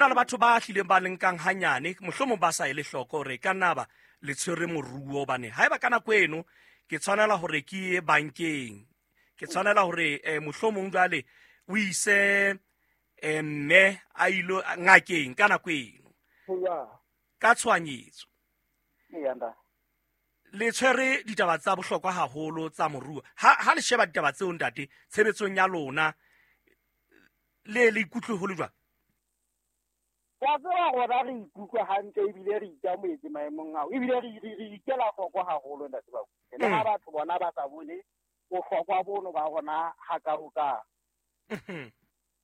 Na le batho ba hlileng ba le nkang hanyane, mohlomong ba sa ele hloko hore e ka nna ba le tshwere moruo, hobane haeba ka nako eno ke tshwanela hore ke ye bankeng, ke tshwanela hore mohlomong jwale o ise mme a ilo ngakeng ka nako eno ka tshohanyetso. Le tshwere ditaba tsa bohlokwa haholo tsa moruo. Ha le sheba ditaba tseo ntate tshebetsong ya lona, le le ikutlwe ho le jwang? Wa tseba rona re ikutlwa hantle ebile re ikamoetse maemong ao, ebile re ikela hloko haholo ntate Bakuse. Le ha batho bona ba sa bone bohlokwa bono ba rona hakaokao.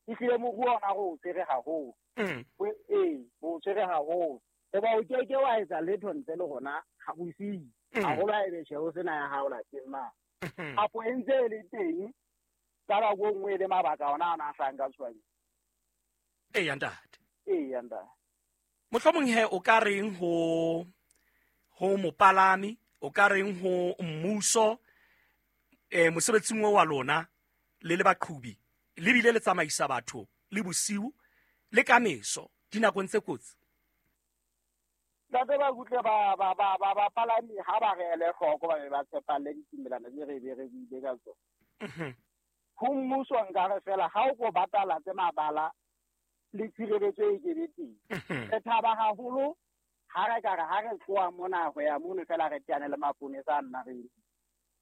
Ehlile moruo ona re o tshwere haholo. Ee, re o tshwere haholo. Hoba o ke ke wa etsa letho ntle le rona ha bosiu. Haholo ha ebe tjhe o sena ya hao lapeng mane. Apo e ntse e le teng ka nako e nngwe e le mabaka ona a na a hlahang ka tshohanyetso. Eya ntate. Eya ntate. Mohlomong he o ka reng ho mopalami, o ka reng ho mmuso, mosebetsing o wa lona le le baqhubi, le bile le tsamaisa batho le bosiu le ka meso dinakong tse kotsi? Ntate ba kutle bapalami ha ba re ele hloko, ba be ba tshepalle ditumelano tse re be re buile ka tsona. Ho mmuso nka re fela ha o ko batala tse mabala le tshireletso e kebe teng. Re thaba haholo ha re ka re ha re tloha mona ho ya mono fela re teane le maponesa a nna re eme.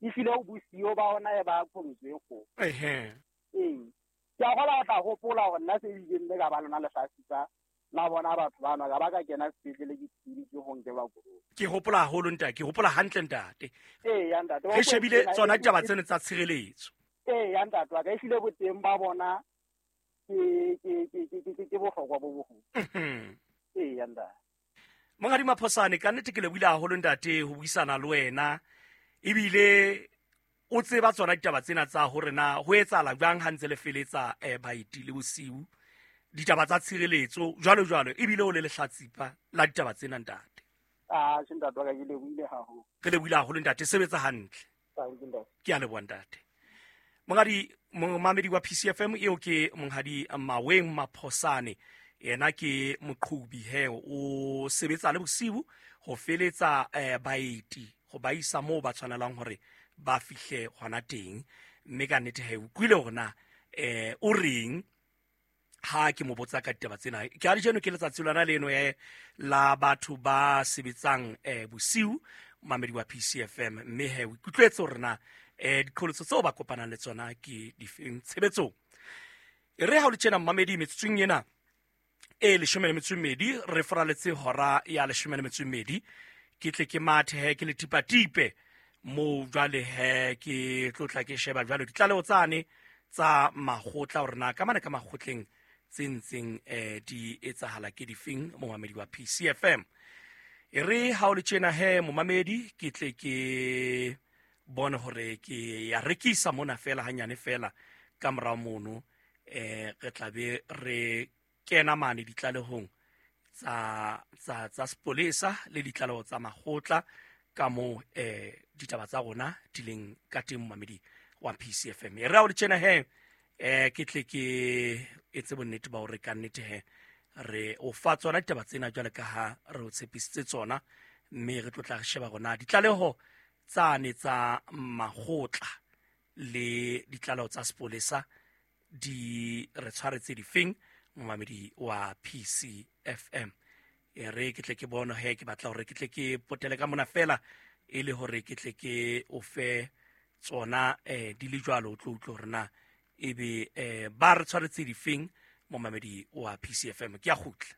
Ehlile o bosiyo ba ona e ba qholotso e kgolo. Ee. Ke a kgolwa o tla hopola hore nna se ileng le ka ba lona lehlatsipa la bona batho bana, ka ba ka kena sepetlele ke thibile ho nkelwa koloi. Ke hopola haholo ntate, ke hopola hantle ntate. Ee, ya ntate, Re shebile tsona ditaba tseno tsa tshireletso. Ee, ya ntate wa ka, ehlile boteng ba bona ke bohlokwa bo boholo. Ee, ya ntate. Monghadi Maphosane, ka nnete ke lebohile haholo ntate ho buisana le wena, ebile o tseba tsona ditaba tsena tsa hore na ho etsahala jwang ha ntse le feletsa baeti le bosiu, ditaba tsa tshireletso jwalo jwalo, ebile o le lehlatsipa la ditaba tsena ntate. Ah, tjhe ntate wa ka, ke lebohile haholo. Re lebohile haholo ntate, sebetsa hantle. Thank you, ntate. Ke a leboha ntate. Monghadi momamedi wa PCFM eo ke Monghadi Maweng Maphosane, yena ke moqhubi he, o sebetsa le bosiu ho feletsa baeti ho ba isa moo ba tshwanelang hore ba fihle hona teng. Mme ka nnete he, o utlwile hore na o reng ha ke mo botsa ka ditaba tsena. Ke a lejeno ke letsatsi lona leno la batho ba sebetsang bosiu, mamedi wa PCFM, mme he o ikutlwetse hore na diqholotso tseo ba kopanang le tsona ke difeng tshebetsong. E re ha o le tjena mmamedi, metsotsong ena e leshome le metso e mmedi re foraletse hora ya leshome le metso e mmedi, ke tle ke mathe he ke le tipatipe moo jwale he ke tlotla ke sheba jwale ditlaleho tsane tsa makgotla hore na ka mane ka makgotleng tse ntseng di etsahala ke difeng, momamedi wa PCFM. E re ha o le tjena he momamedi, ke tle ke bone hore ke ya rekisa mona fela hanyane fela ka morao mono, re tla be re kena mane ditlalehong tsa sepolesa le ditlaleho tsa makgotla ka moo ditaba tsa rona di leng ka teng, momamedi wa PCFM. E re ha o le tjena he, ke tle ke etse bonnete ba hore ka nnete he re o fa tsona ditaba tsena jwale ka ha re o tshepisitse tsona, mme re tlo tla re sheba rona ditlaleho tsane tsa makgotla le ditlaleho tsa sepolesa di re tshwaretse difeng, momamedi wa PCFM. E re ke tle ke bone he, ke batla hore ke tle ke potele ka mona fela e le hore ke tle ke o fe tsona di le jwalo, o tlo utlwe hore na ebe ba re tshwaretse difeng, momamedi wa PCFM. Ke a kgutla.